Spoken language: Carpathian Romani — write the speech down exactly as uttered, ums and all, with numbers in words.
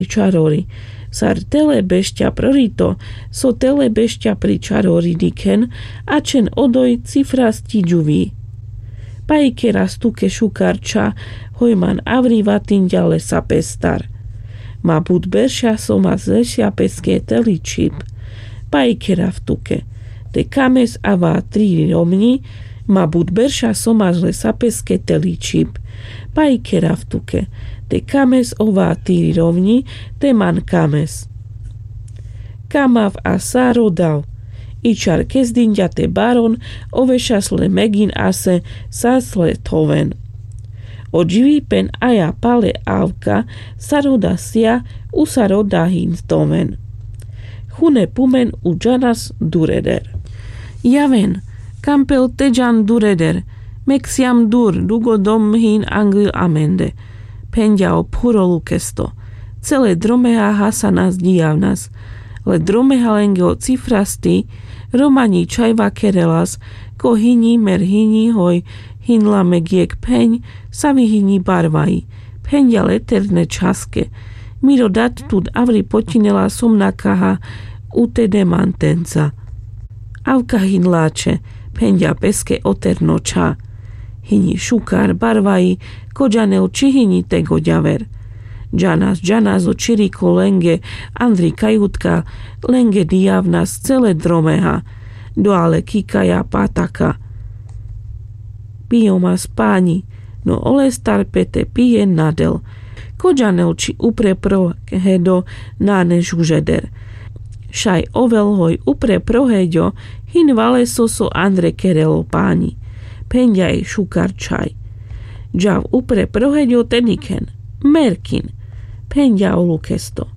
Čarori. Sar tele bešťa prorito, so tele bešťa pri čarori dikhen, ačhen odoj cifrasti džuvi. Pajkeras tuke šukar čha, hoj man avri vatinďa lesa pestar. Ma but berša so ma zlešľa peske teli čhib. Pajkerav tuke. Te kames ava tri romňi, ma but berša so ma lesa peske teli čhib. Pajkerav tuke. Te kames ova tri romňi, te man kames. Kamav a sa rodav. I čar kezdinďa te baron, ovešas le megin ase sas le thoven. O dživi pen aja pale avka, sa roda sija, u sa roda hin thoven. Chune pumen u džanas dureder. Javen, kampel te džan dureder, mek sijam dur, dugo dom hin anglil amende. Phenďa o phuro lukesto. Cele dromeha hasanas djijavnas. Le dromeha lenge o cifrasti, romaňi čhaj vakerelas, ko hinji mer hinji hoj, hinla mek jekh phenj, savi hinji barvaji. Phenďa le terne čhaske. Miro dat tut avri potinela som nakaha, u te demantenca. Avka hin lačhe, phenďa peske o terno čha. Hinji šukar barvaji, ko džanel či hinji te goďaver. Džanas, džanas o čiriko lenge, andri kajutka, lenge djijavnas cele dromeha. Doa le kikaja pataka. Pijomas panji, no olestar pe te pije nadel. Ko džanel či upre proheďo nane žužeder. Šaj ovel hoj upre proheďo, hin valeso so andre kerelo panji. Phenďa i šukar čhaj. Džav upre proheďo te dikhen. Merkin. Phenďa o lukesto.